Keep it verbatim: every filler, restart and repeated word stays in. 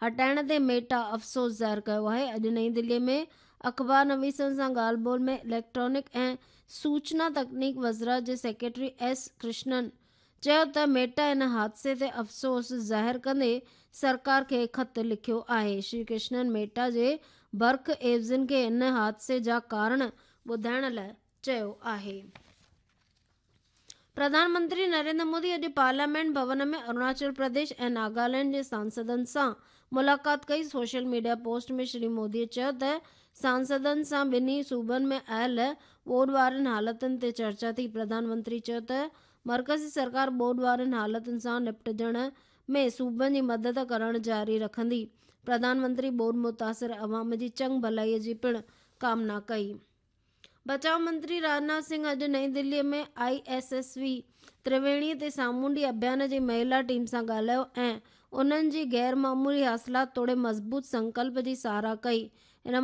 هٽائڻ تي ميٽا افسوس ظاهر ڪيو آهي. اڄ نئين دلي ۾ اخبار نويسن سان ڳالهه ٻولهه ۾ اليڪٽرانڪ ۽ سوچنا تڪنيڪ وزارت جي سيڪريٽري ايس ڪرشنن چيو ته ميٽا ان حادثي تي افسوس ظاهر ڪندي سرڪار کي خط لکيو آهي. شري ڪرشنن ميٽا جي برک عيوضين کي ان حادثي جا ڪارڻ ٻڌائڻ لاءِ چيو آهي. پرڌان منتري نريندر مودي اڄ پارليامينٽ ڀون ۾ اروناچل پرديش ۽ ناگالينڊ جي سانسدن سان ملاقات ڪئي. Social media post ۾ Shri Modi چيو ته سانسدن سان ٻنهي صوبن ۾ آيل ٻوڏ وارين حالتن تي چرچا ٿي. پرڌان منتري چيو ته مرڪزي سرڪار ٻوڏ وارين حالتن سان نپٽجڻ ۾ صوبن جي مدد ڪرڻ جاري رکندي. پرڌان منتري ٻوڏ متاثر عوام جي چڱ ڀلائي جي پڻ ڪامنا ڪئي. بچاءُ منتري راجناٿ سنگهه اڄ نئين دلي ۾ I S S V Triveni تي سامونڊي اڀيان جي مهلا ٽيم سان ڳالهايو ۽ انهن جي غير معمولي حاصلات توڙي مضبوط سنڪلپ جي ساراهه ڪئي. ان